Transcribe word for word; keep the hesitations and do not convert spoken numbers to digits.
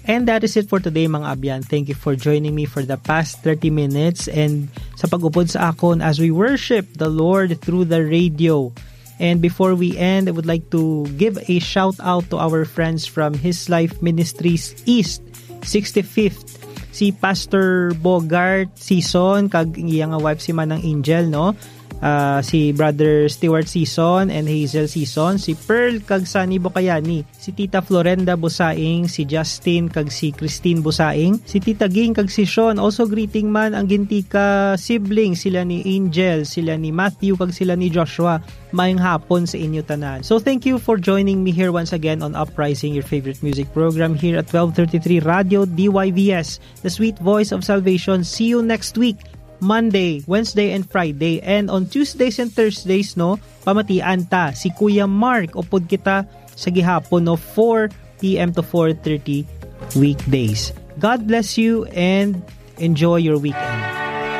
And that is it for today, mga abyan. Thank you for joining me for the past thirty minutes and sa pag-upod sa akon as we worship the Lord through the radio. And before we end, I would like to give a shout out to our friends from His Life Ministries East, sixty-fifth. Si Pastor Bogart Season kag iya nga wife si Manang Angel, no? Ah, si Brother Stewart Season and Hazel Season, si Pearl kag Sunny Bukayani, si Tita Florenda Busaing, si Justin kag si Christine Busaing, si Tita Ging kag si Sean. Also greeting man ang Gintika sibling, sila ni Angel, sila ni Matthew kag sila ni Joshua. Maayong hapon sa inyo tanan. So thank you for joining me here once again on Uprising, your favorite music program here at twelve thirty-three Radio D Y V S, the sweet voice of salvation. See you next week, Monday, Wednesday, and Friday. And on Tuesdays and Thursdays, no, pamatian ta si Kuya Mark. Upod kita sa gihapon, no, four p.m. to four thirty weekdays. God bless you and enjoy your weekend.